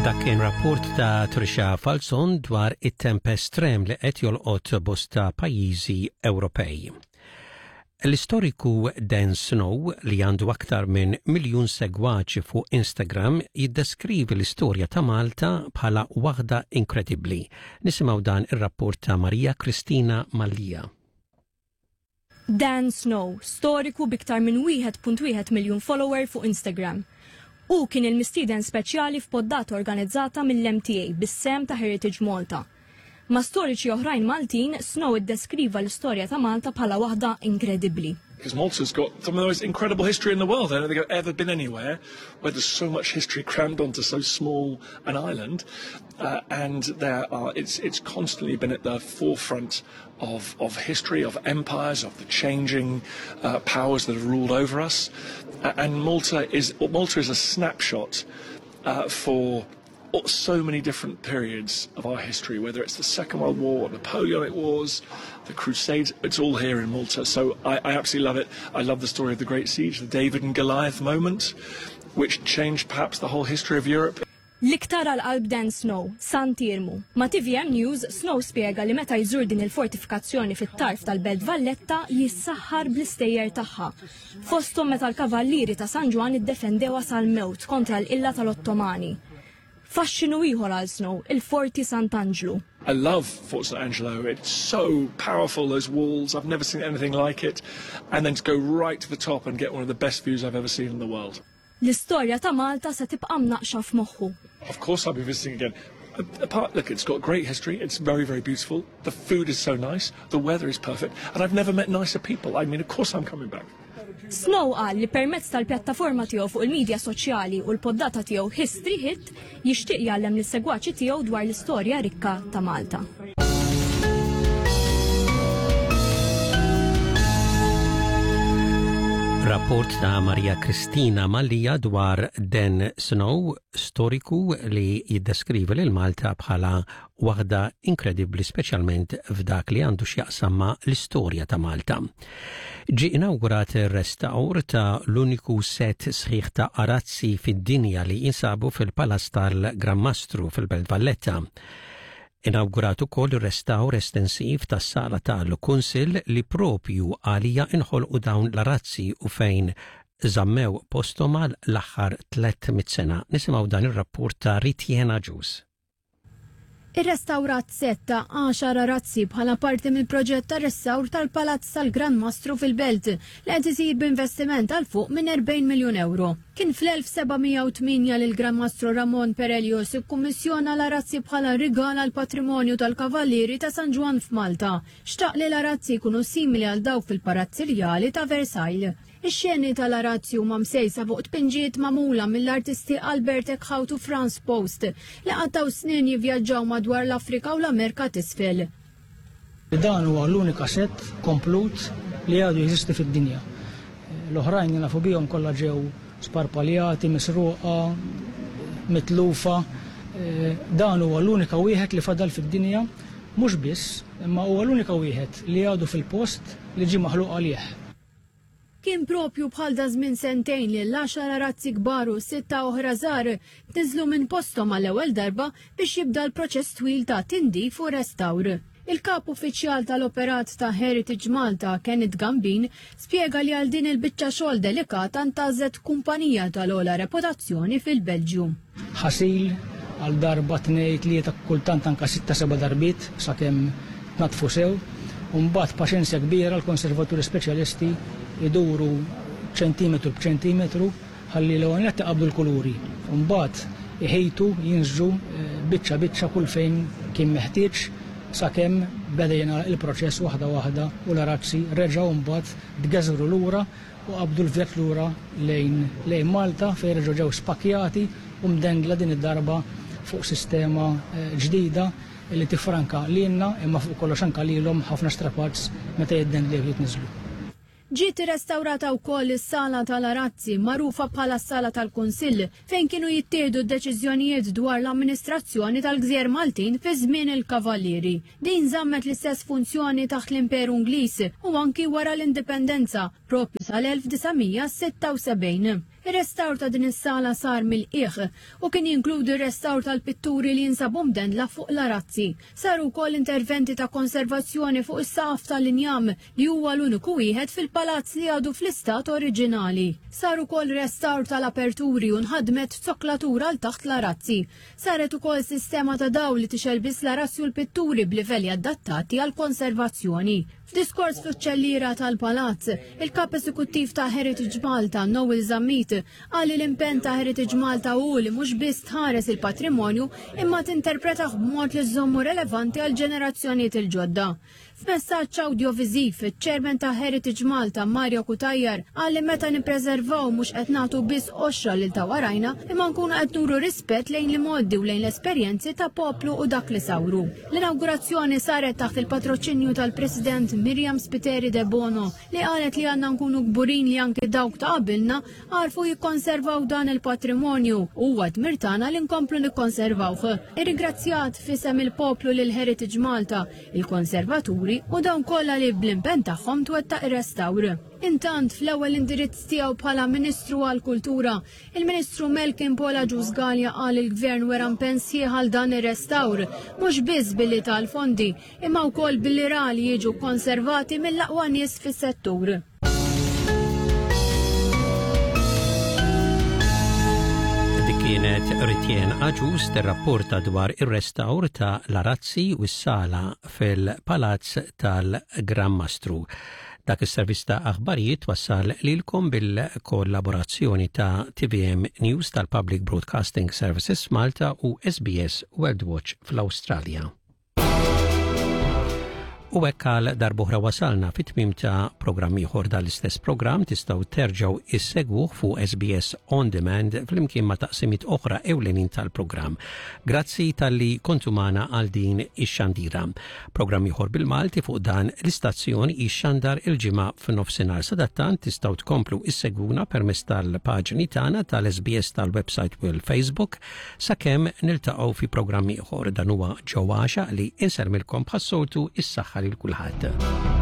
Dak kien rapport ta' Trisha Falzon dwar it-temp estrem li qed jolqot bosta pajjiżi Ewropej. L-istoriku Dan Snow, li għandu aktar minn miljun segwaċi fuq Instagram, jiddeskrivi l-istorja ta' Malta bħala waħda inkredibbli. Nisimgħu dan ir-rapport ta' Maria Kristina Mallia. Dan Snow, storiku b'iktar minn 1.1 miljun follower fuq Instagram. Hu kien il-mistieden speċjali f'poddata organizzata mill-MTA bis-sehem ta' Heritage Malta. Ma' storiċi oħrajn Maltin, Snow iddeskriva l-istorja ta' Malta bħala waħda inkredibbli. Because Malta's got some of the most incredible history in the world. I don't think I've ever been anywhere where there's so much history crammed onto so small an island. Uh, and there are, it's, it's constantly been at the forefront of, of history, of empires, of the changing uh, powers that have ruled over us. Uh, and Malta is, Malta is a snapshot uh, for so many different periods of our history, whether it's the Second World War, Napoleonic Wars, the Crusades, it's all here in Malta. So I, I absolutely love it. I love the story of the Great Siege, the David and Goliath moment, which changed perhaps the whole history of Europe. L-iktar għal qalb Dan Snow, Sant'Iermu. Ma' TVM News, Snow spjega li meta jżur din il-fortifikazzjoni fit-tarf tal-Belt Valletta jissaħħar bl-istejjer tagħha. Fosthom meta l-Kavallieri ta' San Ġwann iddefendewha sal-mewt kontra l-qilla tal-Ottomani. Faxxinu ieħor għal Snow, il-Forti Sant'Anġlu. I love Fort St Angelo. It's so powerful, those walls. I've never seen anything like it. And then to go right to the top and get one of the best views I've ever seen in the world. L-istorja ta' Malta se tibqa' mnaqqxa f'moħħu. Of course I'll be visiting again. Apart, look, it's got great history. It's very, very beautiful. The food is so nice. The weather is perfect. And I've never met nicer people. I mean, of course I'm coming back. Snow qal li permezz tal-pjattaforma tiegħu fuq il-midja soċjali u l-poddata tiegħu History Hit jixtieq jgħallem lis-segwaċi tiegħu dwar l-istorja rikka ta' Malta. Rapport ta' Maria Kristina Mallia dwar Dan Snow, storiku li jiddeskrivi lil Malta bħala waħda inkredibbli speċjalment f'dak li għandu x'jaqsam ma' l-istorja ta' Malta. Ġie inawgurat ir-restawr ta' l-uniku sett sħiħ ta' arazzi fid-dinja li jinsabu fil-Palazz tal-Gran Mastru fil-Belt Valletta. Inawgurat ukoll ir-restawr estensiv tas-sala tal-Kunsill li propju għalija inħolqu dawn l-arazzi u fejn żammew posthom għal l-aħħar 300 sena. Nisimgħu dan ir-rapport ta' Ritiena Ġus. Irrestawrat sett ta' għaxar arazzi bħala parti mill-proġett ta' restawr tal-Palazz tal-Gran Mastru fil-Belt li qed isir b'investiment għal fuq minn 40 miljun ewro. Kien fl-1708 li l-Gran Mastru Ramon Perelius ikkummissjona l-arazzi bħala rigal għall-patrimonju tal-Kavallieri ta' San Ġwann f'Malta. Xtaq li l-arazzi jkunu simili għal dawk fil-Palazz Irjali ta' Versailles. Ix-xeni tal-arazzi huma msejsa fuq tpinġijiet magħmula mill-artisti Albert Eckhout u Frans Post li qattgħu snin jivvjaġġaw madwar l-Afrika u l-Amerika t'Isfel. Dan huwa l-unika sett komplut li għadu jeżisti fid-dinja. L-oħrajn li nafu bihom kollha ġew sparpaljati, misruqa, mitlufa. Dan huwa l-unika wieħed li fadal fid-dinja, mhux biss, imma huwa l-unika wieħed li għadu fil-post li ġie maħluq għalih. Kien propju bħal daż-żmien sentejn li l-għaxar arazzi kbar u sitta oħra żgħar tniżżlu minn posthom għall-ewwel darba biex jibda l-proċess twil ta' tindif u restawr. Il-Kap Uffiċjal tal-Operat ta' Heritage Malta, Kenneth Gambin, spjega li għal din il-biċċa xogħol delikata ntgħażlet kumpanija tal-ogħla reputazzjoni fil-Belġju. Ħasil għal darba, tnejn, tlieta, kultant anke sitta, seba' darbiet sakemm tnaddfu sew. U mbagħad b'paċenzja kbira l-konservaturi speċjalisti jduru ċentimetru b'ċentimetru ħalli l-ewwel nett iqabblu l-kuluri u mbagħad iħejtu, jinsġu biċċa biċċa kull fejn kien meħtieġ sakemm beda jingħalaq il-proċess waħda waħda u l-arazzi reġgħu mbagħad tgeżwru lura u qabdu l-vjaġġ lura lejn lejn Malta fejn reġgħu ġew spakkjati u mdendla din id-darba fuq sistema ġdida li tiffranka lilna imma fuq kollox anke lilhom ħafna strapazz meta jiddendlew jitniżżlu. Ġiet irrestawrata wkoll is-Sala tal-Arazzi, magħrufa bħala s-Sala tal-Kunsill, fejn kienu jittieħdu d-deċiżjonijiet dwar l-amministrazzjoni tal-gżejjer Maltin fi żmien il-Kavallieri. Din żammet l-istess funzjoni taħt l-Imperu Ingliż u anki wara l-Indipendenza, proprju sal-1976. Ir-restawr ta' din is-sala sar mill-qiegħ u kien jinkludi r-restawr tal-pitturi li jinsabu mdendla fuq l-arazzi. Saru wkoll interventi ta' konservazzjoni fuq is-saqaf tal-injam li huwa l-uniku wieħed fil-palazz li għadu fl-istat oriġinali. Sar ukoll restawr tal-aperturi u nħadmet zoklatura għal taħt l-arazzi. Saret ukoll sistema ta' dawl li tixgħel biss l-arazzi u l-pitturi b'livelli adattati għall-konservazzjoni. F'diskors fl-uċċelliera tal-Palazz, il-Kap Eżekuttiv ta' Heritage Malta, Noel Zammit, qal li l-impenn ta' Heritage Malta hu li mhux biss tħares il-patrimonju imma tinterpretah b'mod li żżommu relevanti għall-ġenerazzjonijiet il-ġodda. F'messaġġ awdjoviżiv, iċ-Chairman ta' Heritage Malta, Mario Cutajar, qal li meta nippreservaw mhux qed nagħtu biss qoxra lil ta' warajna, imma nkunu qed nuru rispett lejn l-imgħoddi u lejn l-esperjenzi ta' poplu u dak li sawru. L-inawgurazzjoni saret taħt il-patroċinju tal-President Miriam Spiteri Debono li qalet li għandna nkunu kburin li anki dawk ta' qabilna għarfu jikkonservaw dan il-patrimonju u huwa dmir tagħna li nkomplu nikkonservawh. Irringrazzjat f'isem il-poplu lil Heritage Malta, il-konservaturi u dawn kollha li bl-impenn tagħhom twettaq ir-restawr. Intant, fl-ewwel indirizz tiegħu bħala Ministru għall-Kultura, il-Ministru Melkin Paul Agius Galea qal il-Gvern wera impenn sħiħ għal dan ir-restawr, mhux biss billi ta l-fondi, imma wkoll billi ra li jiġu konservati mill-aqwa nies fis-settur. Dik kienet Ritjen Aġus tirrapporta dwar ir-restawr ta' l-arazzi u s-sala fil-Palazz tal-Gran Mastru. Dak is-servizz ta' aħbarijiet wassal lilkom bil-kollaborazzjoni ta' TVM News tal-Public Broadcasting Services Malta u SBS World Watch fl-Awstralja. U hekk għal darbohra wasalna fit-tmim ta' programm ieħor dal-istess programm tistgħu terġgħu issegwuh fuq SBS On Demand flimkien ma' taqsimiet oħra ewlenin tal-programm. Grazzi talli kontu magħna għal din ix-xandira. Programm ieħor bil-Malti fuq dan l-istazzjon jixxandar il-ġimgħa f'nofsinhar. Sadattant tistgħu tkomplu issegwuna permezz tal-paġni tagħna tal-SBS tal-website u l-Facebook Sakemm niltaqgħu fi programm ieħor dan huwa Joe Għaxa li insermilkom bħas-soltu is-saħħa lil kulħadd.